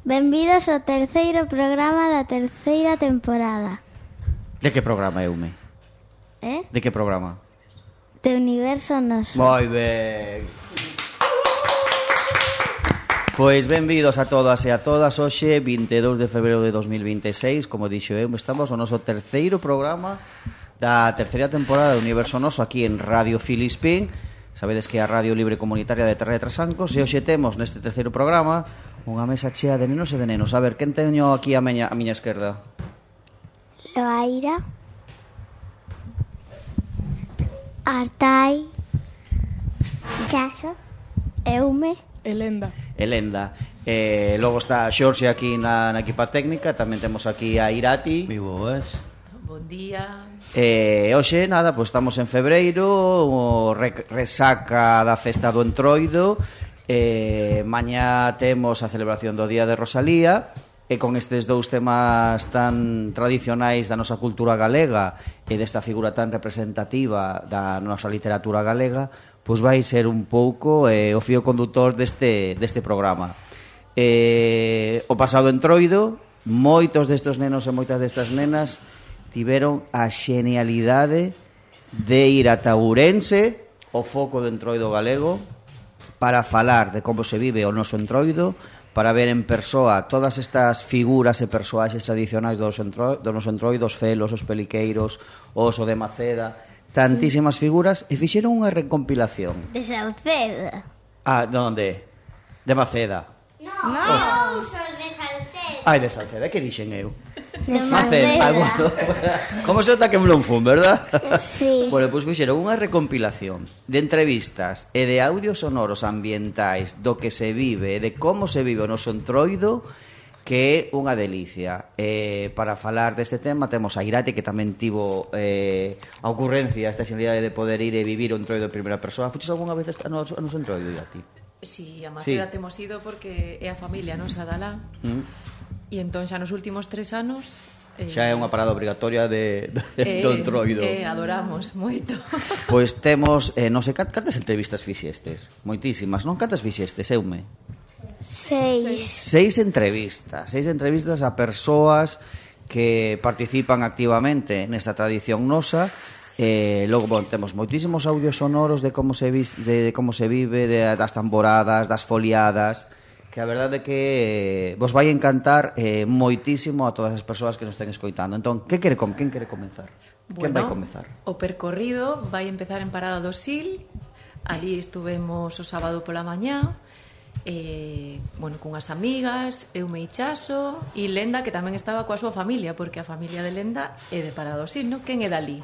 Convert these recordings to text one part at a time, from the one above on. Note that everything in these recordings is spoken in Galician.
Benvidos ao terceiro programa da terceira temporada. De que programa, Eume? De que programa? De Universo Noso. Moi ben. Pois benvidos a todas e a todas. Hoxe, 22 de febreiro de 2026, como dixo eu, estamos no noso terceiro programa da terceira temporada de Universo Noso aquí en Radio Filispín. Sabedes que é a Radio Libre Comunitaria de Terra de Trasancos. E hoxe temos neste terceiro programa unha mesa chea de nenos e de nenos. A ver, quen teño aquí a miña esquerda? Loaira, Artai, Chaso, Eume, Elenda. Logo está Xorxe aquí na equipa técnica. Tamén temos aquí a Irati. Moi boas. Bon día. Hoxe, nada, pois estamos en febreiro, resaca da festa do Entroido. Mañá temos a celebración do Día de Rosalía. E con estes dous temas tan tradicionais da nosa cultura galega e desta figura tan representativa da nosa literatura galega, pois vai ser un pouco o fío condutor deste programa. O pasado Entroido, moitos destes nenos e moitas destas nenas tiveron a xenialidade de ir ata Ourense, o foco do Entroido galego, para falar de como se vive o noso Entroido, para ver en persoa todas estas figuras e persoaxes tradicionais do noso Entroido, os felos, os peliqueiros, o oso de Maceda, tantísimas figuras, e fixeron unha recompilación. de Sauceda. Ah, de onde? De Maceda. No, Son de Salcedo. Ai, de Salceda, que dixen eu? de Maceda. Ah, bueno. Como se nota que me non fun, verdad? Sí. Bueno, pois fixeron unha recompilación de entrevistas e de audios sonoros ambientais do que se vive e de como se vive o noso Entroido, que é unha delicia. Para falar deste tema temos a Irati, que tamén tivo a ocurrencia, esta xenialidade de poder ir e vivir o Entroido en primeira persoa. Fuches algunha vez a noso Entroido, Irati? Si, a Maceda Sí. temos ido porque é a familia nosa dalá. E entón xa nos últimos 3 anos Xa é unha parada obrigatoria do Entroido. Adoramos moito. Pois temos, non sei, cantas entrevistas fixestes? Moitísimas, non? Cantas fixestes, Eume? 6. Seis entrevistas a persoas que participan activamente nesta tradición nosa. Logo, bon, temos moitísimos audios sonoros de como se vive, das tamboradas, das foliadas, que a verdade é que vos vai encantar moitísimo a todas as persoas que nos estén escoitando. Entón, quen quere comenzar? Quen vai comenzar? O percorrido vai empezar en Parada do Sil. Ali estuvemos o sábado pola mañá, cunhas amigas, Eume e Chaso, e Lenda, que tamén estaba coa súa familia, porque a familia de Lenda é de Parada do Sil, non? Quen é dali?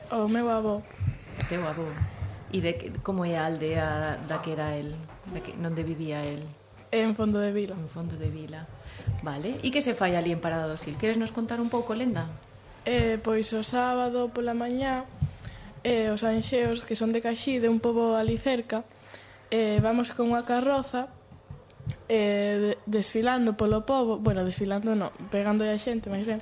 O meu avó. Teu avó. E como é a aldea da que era el, onde vivía el? En Fondo de Vila. En Fondo de Vila. Vale. E que se fai ali en Parada do Sil? Queres nos contar un pouco, Lenda? Pois o sábado pola mañá, os anxeos, que son de Caxí, de un pobo ali cerca, vamos con unha carroza desfilando polo pobo. Bueno, desfilando non, pegando a xente, máis ben.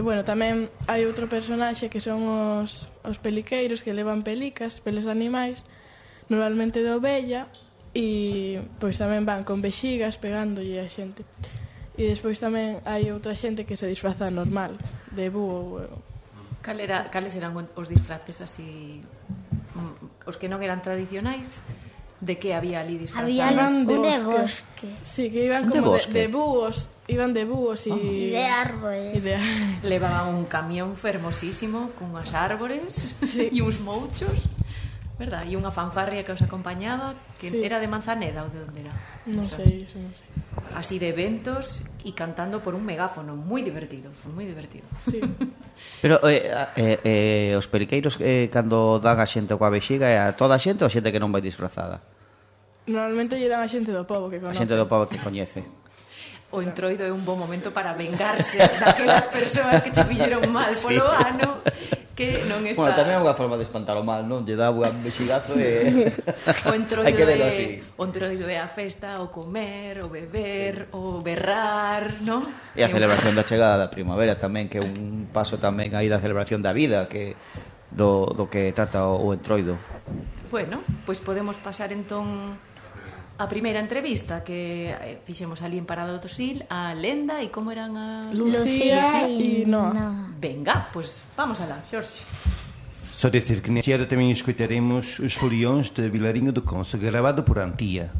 Bueno, tamén hai outro personaxe que son os peliqueiros, que levan pelicas, peles de animais, normalmente de ovella, e pois tamén van con vexigas pegándolle a xente. E despois tamén hai outra xente que se disfraza normal, de búho. Cales eran os disfraces así, os que non eran tradicionais? De que había ali disfrazados? Había Iban un de bosque. Sí, que iban como de búhos. Iban de búhos E de árboles. Levaban un camión fermosísimo con unhas árbores e uns mouchos, verdad? E unha fanfarria que os acompañaba, que era de Manzaneda ou de onde era? Non sei, eso non sei. Así de eventos e cantando por un megáfono, moi divertido, foi moi divertido. Sí. Pero os periqueiros cando dan a xente coa vexiga é a toda a xente ou a xente que non vai disfrazada? Normalmente lle dan a xente do pobo que A conoce. xente do pobo que coñece. O Entroido é un bon momento para vengarse daquelas persoas que che fixeron mal polo ano, que non está... Bueno, tamén é unha forma de espantar o mal, non? Lle dá un vexigazo e... O Entroido hai que verlo así. O Entroido é a festa, o comer, o beber, o berrar, non? E a celebración da chegada da primavera tamén, que é un paso tamén aí da celebración da vida, que do que trata o Entroido. Bueno, pois podemos pasar entón a primeira entrevista que fixemos ali en Parada do Sil, a Lenda e como eran as... Lucía e Noa. Venga, pois vamos alá, Xorxe. Só dizer que neste ano também escutaremos os foliões de Vilarinho do Conso, gravado por Antía.